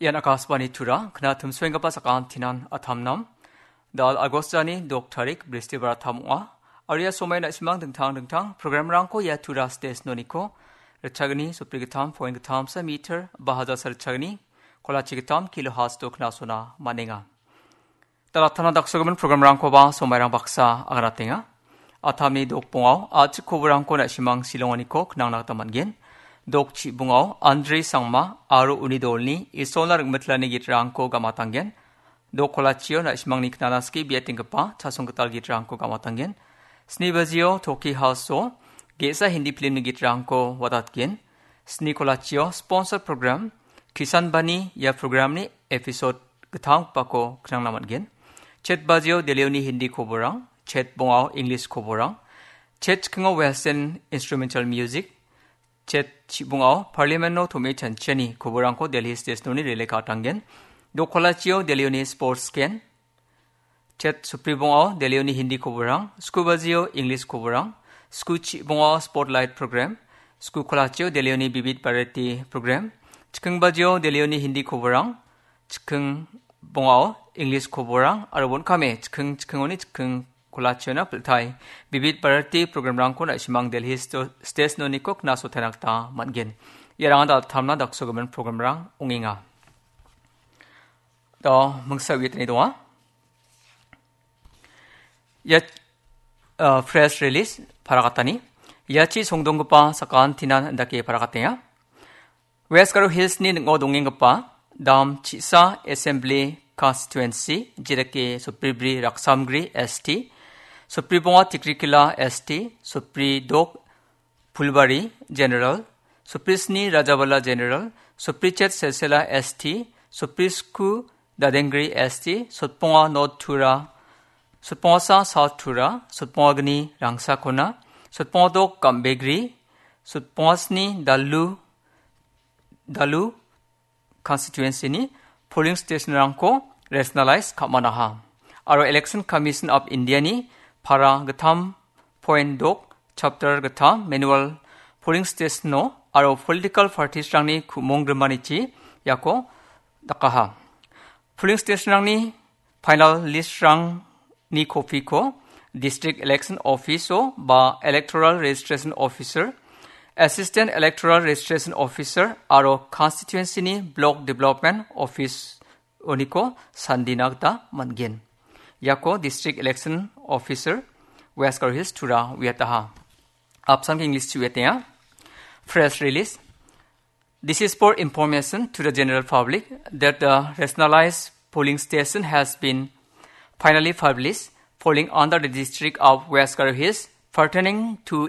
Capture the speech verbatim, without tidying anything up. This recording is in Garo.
Ian Akashvani Tura, kna timsoenggipa sakantinan atamnam. Dal Agostani dok tarik, Bristibar atam ong·a. Aria somai na·simang dingtang dingtang programrangko ia Tura station-oniko ritchagni sopri gittam point gittam sa meter, ba hajar sa ritchagni kolachi gittam kilohertz-o knasona man·enga. Dalatana daksogimin programrangkoba somairang baksa aganatenga. Atamni dokbongao a·chik koborangko na·simang silonganiko knangna gita man·gen. Dok chibongao Andre Sangma aro uni dolni Isolna ringmitlani gitrangko gamatanggen. Dok kolachio na·simangni knana skie biatenggipa chasong gital gitrangko gamatanggen. Sni bajio Toki House-o ge·sa Hindi filmni gitrangko watatgen. Sni kolachio sponsor program Kisan Bani ia programni episode gittamgipako knangna man·gen. Chet bajio Delhioni Hindi koborang, chet bongao English koborang, chet chikingo Western instrumental music, chet chibongao Parliament-o tom·e chanchiani koborangko Delhi station-oni rele ka·atanggen. Dok kolachio Delhioni sports scan, chet sopri bongao Delhioni Hindi koborang, sku bajio English koborang, sku chibongao spotlight program, sku kolachio Delhioni Bibit Bharati program, chiking bajio Delhioni Hindi koborang, chiking bongao English koborang, aro bon·kame chiking chikingoni chiking kolachiona piltai Bibit Bharati programrangko na·simang Delhi sto-, station-oniko knasotena gita man·gen. Iarang dalatana daksogimin programrang ong·enga. Do, mingsa uiatani donga. Ia, uh, press release parakatani. Iachi songdonggipa sakantinan indake parakatenga. West Garo Hills-ni ning·o dongenggipa dam chisa Assembly Constituency, jedake Sopribri Raksamgri S T, Sopribonga Tikrikila S T, Sopridok Phulbari General, Soprisni Rajabala General, Soprichet Selsela S T, Soprisku Dadengri S T, Sotponga North Tura, Sotpongasa South Tura, Sotpongagni Rangsakona, Sotpongadok Gambegri, Sotpongasni Dalu, Dalu Constituency-ni polling station-rangko rationalize ka·manaha. Aro Election Commission of India-ni para gittam point dok chapter gittam manual polling station-o aro political parties-rangni ku·mong grimanichi iako dakaha. Polling station-rangni final list-rangni kopiko District Election Office-o ba Electoral Registration Officer, Assistant Electoral Registration Officer aro constituency-ni Block Development Office-oniko sandina gita man·gen. Iako District Election Officer West Garo Hills Tura uiataha. Apsan ke English-chi uiatenga. Press release. This is for information to the general public that the rationalized polling station has been finally published, falling under the district of West Garo Hills, pertaining to